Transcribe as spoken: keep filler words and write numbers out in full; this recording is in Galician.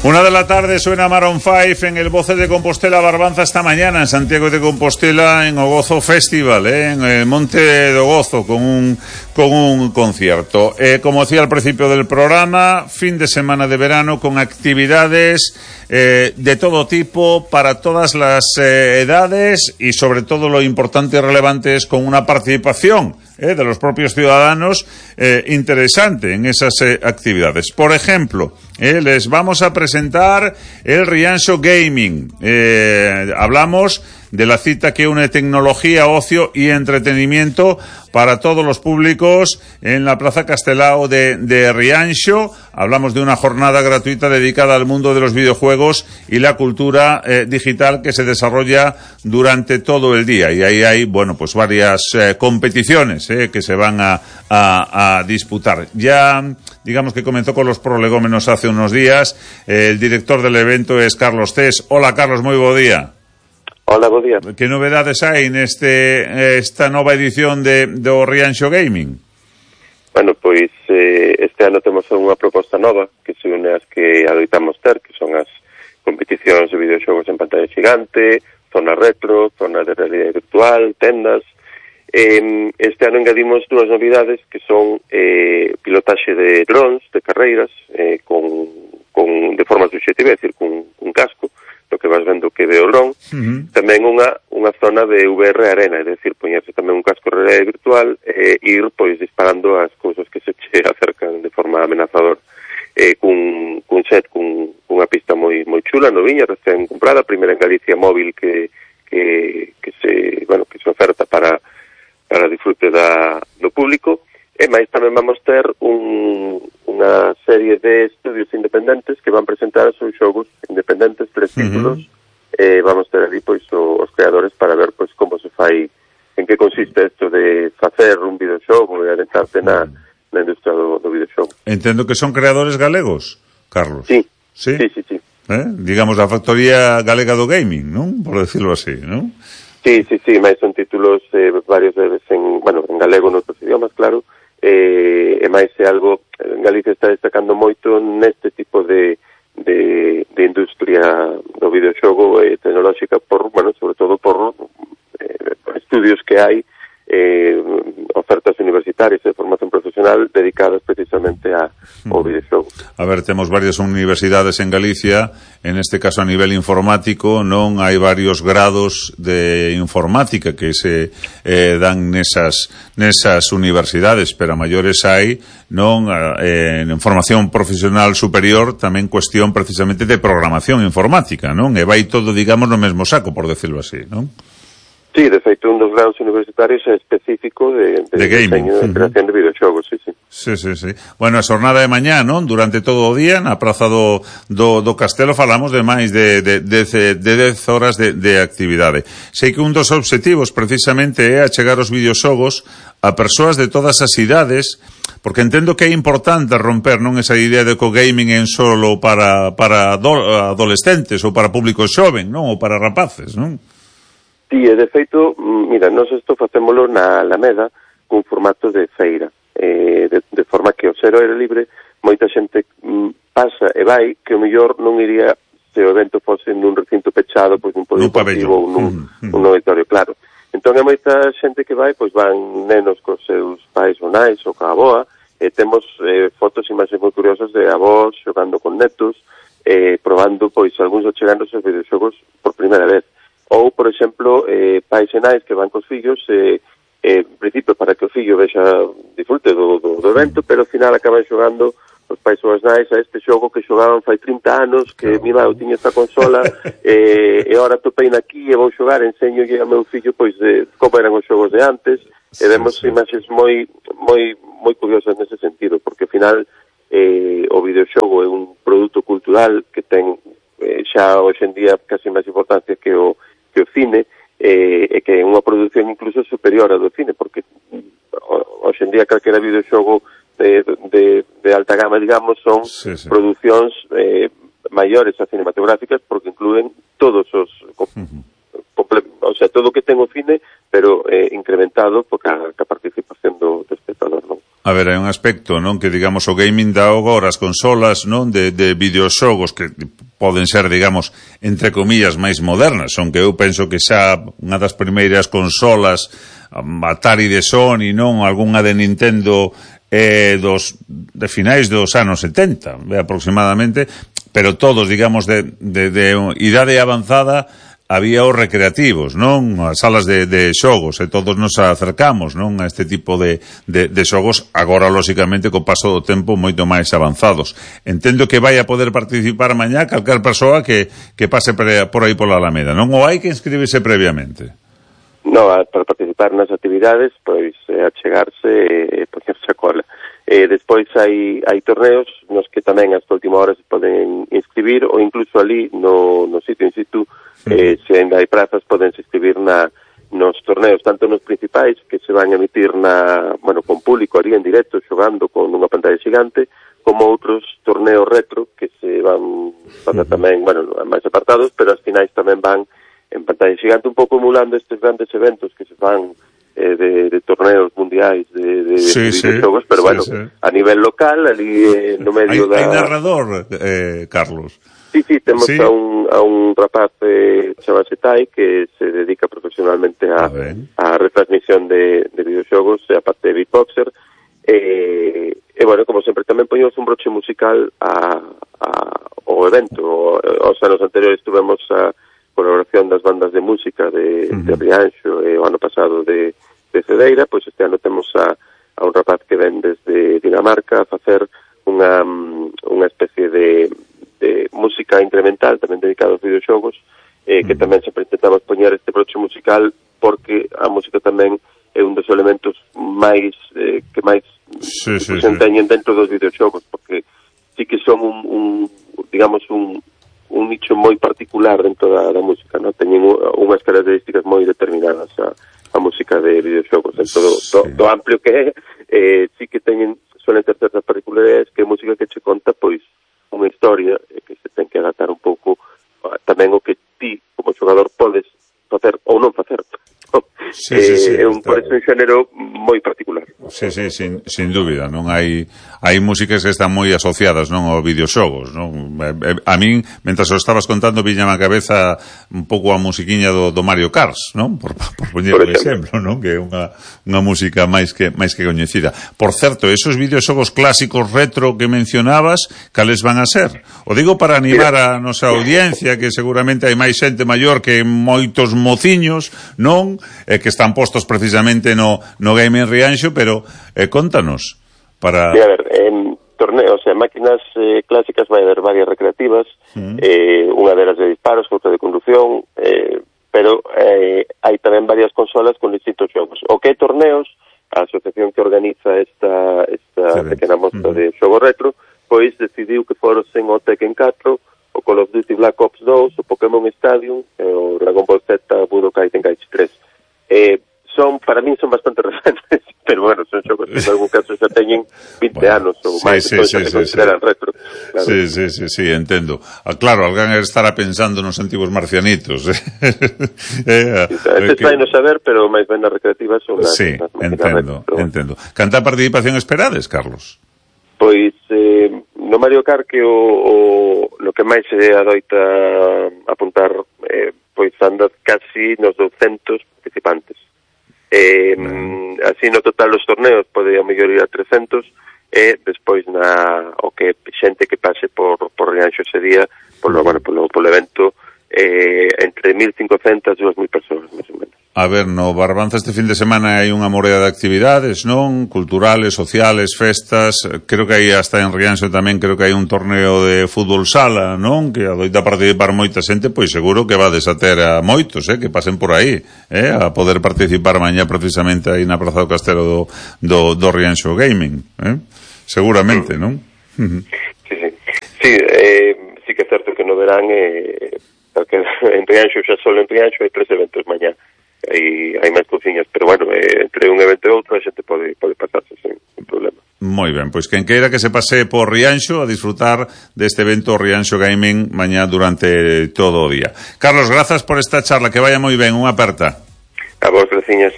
Una de la tarde suena Maroon five en el Voces de Compostela Barbanza esta mañana en Santiago de Compostela en Ogozo Festival, ¿eh? En el Monte de Ogozo con un, con un concierto. Eh, como decía al principio del programa, fin de semana de verano con actividades eh, de todo tipo para todas las eh, edades y sobre todo lo importante y relevante es con una participación Eh, de los propios ciudadanos eh, interesante en esas eh, actividades. Por ejemplo, eh, les vamos a presentar el Rianxo Gaming. Eh, hablamos de la cita que une tecnología, ocio y entretenimiento para todos los públicos en la Plaza Castelao de, de Rianxo. Hablamos de una jornada gratuita dedicada al mundo de los videojuegos y la cultura eh, digital que se desarrolla durante todo el día. Y ahí hay, bueno, pues varias eh, competiciones eh, que se van a, a, a disputar. Ya, digamos que comenzó con los prolegómenos hace unos días. Eh, el director del evento es Carlos Cés. Hola, Carlos, moi bo día. Hola, bo día. Que novedades hai neste esta nova edición de do Rianxo Gaming? Bueno, pois eh, este ano temos unha proposta nova que se une as que adoitamos ter, que son as competicións de videoxogos en pantalla xigante, zona retro, zona de realidade virtual, tendas. Eh, este ano engadimos dúas novidades que son eh, pilotaxe de drones, de carreiras, eh, con, con, de forma subxetiva, é dicir, con un casco, lo que vas vendo que ve o dron, uh-huh. Tamén unha unha zona de V R arena, é dicir, poñerse tamén un casco de realidade virtual e eh, ir pois disparando as cousas que se che acercan de forma amenazadora. Eh, cun, cun set, cun, cunha pista moi moi chula, noviña, recén comprada, primeira en Galicia móvil que que que se, bueno, que se oferta para para disfrute da do público. E máis tamén vamos ter un, unha serie de estudios independentes que van presentar os seus xogos independentes, tres títulos, uh-huh. E vamos ter ali pois o, os creadores para ver pois como se fai, en que consiste isto de facer un videoxogo e adentrarse na, na industria do, do videoxogo. Entendo que son creadores galegos, Carlos. Sí, sí, sí, sí. sí. Eh? Digamos, a factoría galega do gaming, non? Por decirlo así, non? Sí, sí, sí, máis son títulos eh, varios veces en, bueno, en galego en outros idiomas, claro. Eh, e máis é algo, en Galicia está destacando moito neste tipo de, de, de industria do videoxogo eh, tecnolóxica por, bueno, sobre todo por eh, estudios que hai, eh, ofertas universitarias de formación profesional dedicadas precisamente a, ao videoxogo. A ver, temos varias universidades en Galicia, en este caso a nivel informático, non hai varios grados de informática que se eh, dan nesas nesas universidades, pero a maiores hai, non, eh, en formación profesional superior, tamén cuestión precisamente de programación informática, non? E vai todo, digamos, no mesmo saco, por decirlo así, non? Sí, de feito, un dos grados universitarios é específico de, de, de gaming, diseño de creación uh-huh. de videoxogos, sí, sí. Sí, sí, sí. Bueno, a xornada de mañá, non? Durante todo o día, na praza do, do, do Castelo, falamos de máis de, de, de, de dez horas de, de actividade. Sei que un dos obxectivos, precisamente, é achegar os videoxogos a persoas de todas as idades, porque entendo que é importante romper, non, esa idea de que o gaming é solo para, para adolescentes ou para público xoven, non? Ou para rapaces, non? Sí, e de feito, mira, nós isto facémolo na Alameda cun formato de feira, eh, de, de forma que ao ser ao aire libre moita xente mm, pasa e vai que o mellor non iría se o evento fose nun recinto pechado, pois nun polideportivo ou nun, mm, mm. nun auditorio, claro. Entón é moita xente que vai, pois van nenos cos seus pais ou nais ou ca aboa, e temos eh, fotos e imaxes moi curiosas de avós xogando con netos, eh, probando pois algúns achegándose os videoxogos por primeira vez. Ou, por exemplo, eh, pais e nais que van cos fillos, eh, eh, en principio para que o fillo vexa disfrute do, do, do evento, pero ao final acaban xogando os pais ou as nais a este xogo que xogaban fai trinta anos, que mi eu tiña esta consola, eh, e agora topei aquí e vou xogar, enseño ao meu fillo pois de como eran os xogos de antes, sí, e vemos sí. imaxes moi moi moi curiosas nese sentido, porque ao final eh, o videoxogo é un produto cultural que ten eh, xa hoxe en día casi máis importancia que o que o cine, eh, e que é unha produción incluso superior a do cine, porque hoxe en día calquera videoxogo de, de, de alta gama, digamos, son sí, sí. producións eh, maiores a cinematográficas, porque incluen todos os uh-huh. comple, o sea, todo o que ten o cine, pero eh, incrementado por ca, ca participación do, do espectador, non? A ver, hai un aspecto, non, que digamos o gaming dá agora as consolas, non, de, de videoxogos que poden ser, digamos, entre comillas máis modernas, son que eu penso que xa unha das primeiras consolas Atari de Sony, non, algunha de Nintendo eh, dos de finais dos anos setenta, aproximadamente, pero todos, digamos, de, de, de idade avanzada. Había os recreativos, non? As salas de, de xogos, e todos nos acercamos, non? A este tipo de, de, de xogos, agora, lóxicamente, co paso do tempo, moito máis avanzados. Entendo que vai a poder participar mañá calquer persoa que, que pase por aí pola Alameda, non? Ou hai que inscribirse previamente? Non, para participar nas actividades, pois, eh, achegarse e eh, poñerse a cola. Eh, despois hai, hai torneos nos que tamén hasta última hora se poden inscribir, ou incluso ali no, no sitio in situ, eh, se ainda hai prazas, podense inscribir na, nos torneos, tanto nos principais, que se van a emitir na, bueno, con público ali en directo, xogando con unha pantalla xigante, como outros torneos retro, que se van facer tamén, bueno, máis apartados, pero as finais tamén van en pantalla xigante, un pouco emulando estes grandes eventos que se fan eh, de, de torneos mundiais de, de, sí, de sí, videoxogos, pero sí, bueno, sí. A nivel local, ali eh, no medio hai, da... Hai narrador, eh, Carlos? Sí, sí, temos sí. A, un, a un rapaz eh, chamase Tai que se dedica profesionalmente a, a retransmisión de, de videoxogos, e aparte de beatboxer, e, e bueno, como sempre tamén poñemos un broche musical a, a, ao evento. Os anos anteriores tuvemos a colaboración das bandas de música de, uh-huh. de Rianxo e o ano pasado de, de Cedeira, pois este ano temos a, a un rapaz que ven desde Dinamarca a facer unha, unha especie de de música incremental, tamén dedicado aos videoxogos, eh, que tamén sempre intentamos poñer este broche musical porque a música tamén é un dos elementos máis eh, que máis sí, sí, se enteñen sí. dentro dos videoxogos, porque sí que son un, un digamos, un, un nicho moi particular dentro da, da música, non? Teñen unhas características moi determinadas a, a música de videoxogos, dentro do, sí. do, do amplio que é, eh, sí que teñen, suelen ter certas particularidades que é música que che conta, pois, unha historia que se ten que adaptar un pouco tamén o que ti, como xogador, podes facer ou non facer. Sí, sí, sí, é un, por eso un xénero moi particular. Sí, sí, sin, sin dúbida, non hai hai músicas que están moi asociadas, non, aos videoxogos, non? A min, mentras o estabas contando, viñame a cabeza un pouco a musiquiña do, do Mario Kart, non? Por, por poñer un exemplo, non? Que é unha, unha música máis que máis que coñecida. Por certo, esos videoxogos clásicos retro que mencionabas, cales van a ser? O digo para animar a nosa audiencia, que seguramente hai máis xente maior que moitos mociños, non? Eh, que están postos precisamente no, no Game en Rianxo, pero eh, contanos para... Sí, a ver, en torneos, en máquinas eh, clásicas vai haber varias recreativas, mm. eh, unha delas de disparos, outra de conducción, eh, pero eh, hai tamén varias consolas con distintos xogos. O que é torneos, a asociación que organiza esta, esta sí, pequena mostra mm. de xogo retro, pois decidiu que fosen o Tekken catro, o Call of Duty Black Ops dous, o Pokémon Stadium, e o Dragon Ball Z Budokai Tenkaichi tres. Eh, son, para mí son bastante recentes, pero bueno, son xogos que en algún caso xa teñen vinte bueno, anos ou máis, sí, entón sí, xa se sí, consideran sí. retro. Claro. Sí, sí, sí, sí, entendo. Ah, claro, alguén estará pensando nos antigos marcianitos. eh, Estes vai no saber, pero máis ben nas recreativas son las, sí, las entendo, retro, entendo. Canta participación esperades, Carlos? Pois, eh, no Mario Kart que o, o lo que máis se adoita apuntar eh, pois anda casi nos douscentos participantes. Eh, mm. Así no total dos torneos pode a mellor ir a trescentos e despois na o que xente que pase por, por Rianxo ese día polo, bueno, polo, polo evento eh, entre mil cincocentas e dúas mil persoas, máis ou menos. A ver, no Barbanza este fin de semana hai unha morea de actividades, non? Culturales, sociales, festas. Creo que hai hasta en Rianxo tamén, creo que hai un torneo de fútbol sala, non? Que adoita participar moita xente, pois seguro que va desater a moitos, eh? Que pasen por aí, eh? A poder participar mañá precisamente aí na Praza do Castelo do, do, do Rianxo Gaming, eh? Seguramente, non? Sí, sí. Sí, eh, sí que é certo que no verán eh, porque en Rianxo, xa solo en Rianxo hai tres eventos mañá. Hai, hai máis cociñas, pero bueno, eh, entre un evento e outro a xente pode, pode pasarse sen, sen problema. Moi ben, pois quen queira que se pase por Rianxo a disfrutar deste evento Rianxo Gaming mañá durante todo o día. Carlos, grazas por esta charla, que vaya moi ben, unha aperta. A vos, graciñas.